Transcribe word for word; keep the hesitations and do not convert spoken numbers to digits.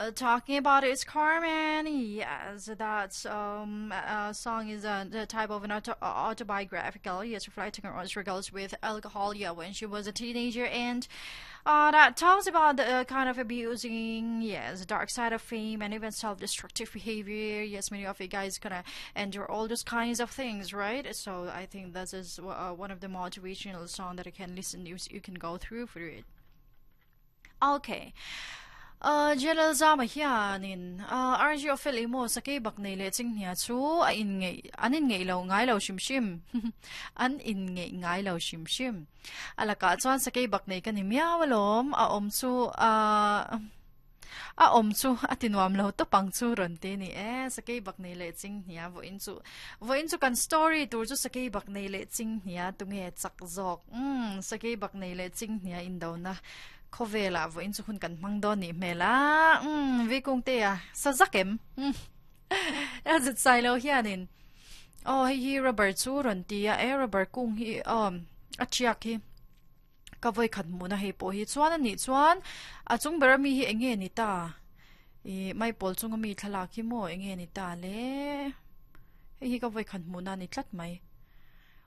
Uh, talking about is Carmen. Yes, that um, uh, song is a, the type of an auto- autobiographical, yes, reflecting her own struggles with alcohol, yeah, when she was a teenager, and uh, that talks about the uh, kind of abusing, yes, dark side of fame and even self-destructive behavior. Yes, many of you guys gonna endure all those kinds of things, right? So I think this is uh, one of the motivational song that you can listen. You, you can go through for it. Okay. Uh, Jalal zama hianin uh, R G ofel imo sakei bak nei le ching hnia chu a in ngei an in ngei lo ngai lo shim shim an in ngei ngai lo shim shim alaka chuan sakei bak nei kan ni miaw alom a om chu a a om chu atinuam lo to pang chu ron te ni e sakei bak nei le ching hnia vo in chu vo in chu kan story tur chu sakei bak nei le ching hnia tunge chak zok um sakei bak nei le ching hnia in do na khawvela vo in chu hun kan mang do ni mela um vi kung te a sa zakem a zit sai lo hianin oh hei hi rubber chu ron ti a e rubber kung hi um a chiak hi ka voi khat mu na hei pawh hi chuan ani chuan a chung ber ami hi enge ni ta i mai pawl chung ami thlalak hi maw enge ni ta le hei hi ka voi khat mu na ni tlat mai.